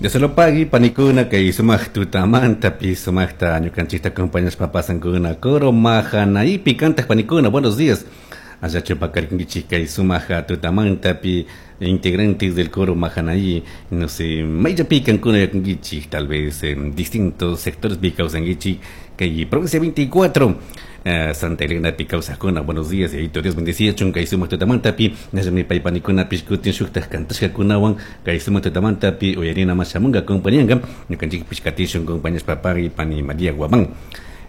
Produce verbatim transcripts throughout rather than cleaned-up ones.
Dios lo pagui panikuna kay sumaq tutamantapi sumaqta ñukanchikta acompañashpa pasankuna coro Mahanaipi kantaq panikuna. Buenos días. Allachu paqarinkichik kay sumaq tutamantapi, integrantes del coro Mahanaí? No sé, mayllapi kankuna yakunkichik, tal vez en distintos sectores pi kawsankichik kay provincia veinticuatro, eh, Santa Elena pi kawsaqkuna, buenos días, y Dios bendecichun kay sumaq tutamantapi. Ñallami pay panikunapish kutin shuktaq kantashkakunawan kay sumaq tutamantapi uyarina mashamunga acompañanka. Ñukanchikpish katishun compañashpa. Pagui, pani María Guamán.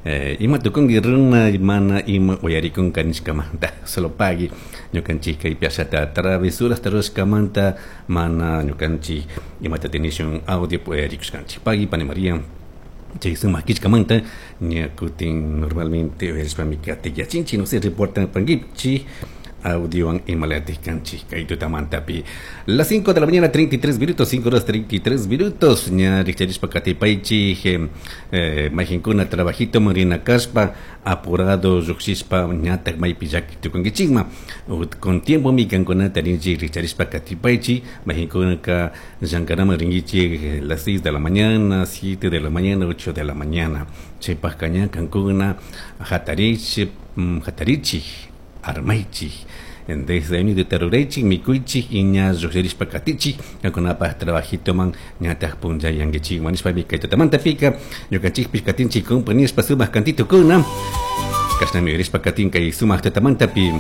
eh, ima tukunki runa mana ima uyarikunka nishkamanta, solo pagui. Ñukanchik kay piashata travesuras rurashkamanta mana ñukanchik imata tenishun audio uyarikushkanchik. Pagui, pani María, chay sumaq killkamanta. Ña kutin normalmente uyarishpami katiyachinchik. No sé, reportan pankichik audiowan imalatik kanchik kay tutamantapi. Las cinco de la mañana treinta y tres minutos, cinco horas treinta y tres minutos. Ña rikcharishpa katipaychik. eh, mayqinkuna trabajito rina kashpa apurado lluqshishpa ñataq maypi llaki tukunkichikma, con tiempo mi kankunata rinchik. Rikcharishpa katipaychik. Mayqinkunaka llankanaman rinkichik las seis de la mañana, siete de la mañana, ocho de la mañana, chaypaqka ña kankuna hatarichik, hatarichik, armaychik, desde ahí taruraychik, mikuychik y ña lluqshirishpa katichik kankunapaq trabajitoman, ñataq punllayankichik nishpami kay tutamantapika ñukanchikpish katinchik compañishpa sumaq kantitukuna. Kashnami uyarishpa katin kay sumaq tutamantapi.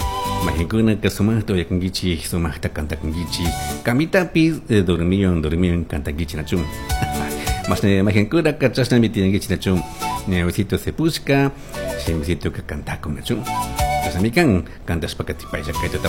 Mayqinkunaka sumaqta uyakunkichik, sumaqta kantakunkichik, kamitapis dormiyon dormiyon kantankichik, nachun? Mashna mayqinkunaka chashnami tiyankichik, nachun? Ñawisito sepushka shimisituka kantakun, nachun? Chashnami kan kantashpa katipaylla kay.